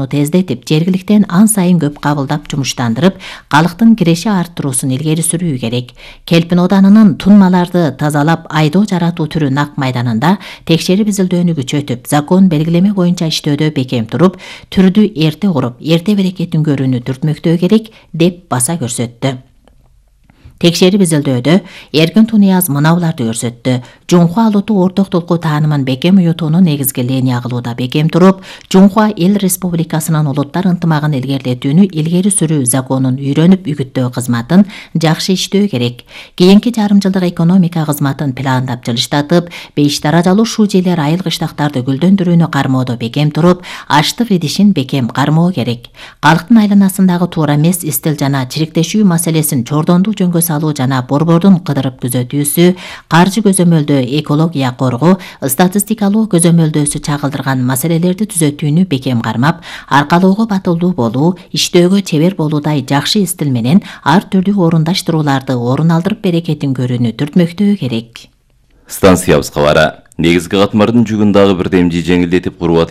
тездетип, жергиликтен ан сайын көп кабылдап жумуштандырып, калктын киреши арттыруусун илгери сүрүү керек. Келпин оданынын тунмаларды тазалап, айдоо жаратуу түрү нак майданында текшерип изилдөөнү күчөтүп, закон белгилеме боюнча иштөөдө бекем туруп, түрдү эрте куруп, эрте берекетин көрүүнү түртмөктөө керек деп баса көрсөттү. Текшерип изилдөөдө Эркин Тунияз мынауларды көрсөттү. Жунхуа алуту орток толку таанымын бекем уютууну негизги линия кылууда бекем туруп, Жунхуа эл республикасынын улуттар ынтымагын илгерилетүүнү илгери сүрүү законун үйрөнүп үгүттөө кызматын жакшы иштөө керек. Кийинки жарым жылдык экономика кызматын пландап жылыштатып, 5 даражалуу шужелер айыл кыштактарды гүлдөндүрүүнү кармоодо бекем туруп, аштык идишин бекем кармоо керек. Калктын айланасындагы туура эмес истил жана чириктешүү маселесин чордондуу жөнгө салуу жана борбордун кыдырып күзөтүүсү, каржы көзөмөлдөө экология коргоо, статистикалуу көзөмөлдөөсү чагылдырган маселелерди түзөтүүнү бекем кармап, аркалоого батылдуу болуу, иштөөгө чебер болуудай жакшы истил менен ар түрдүү орундаштырууларды орун алдырып берекетин көрүүнү түртмөктөө керек. Станциябызга бара. Негизги катмардын жүгүн дагы бир демди жеңилдетип куруу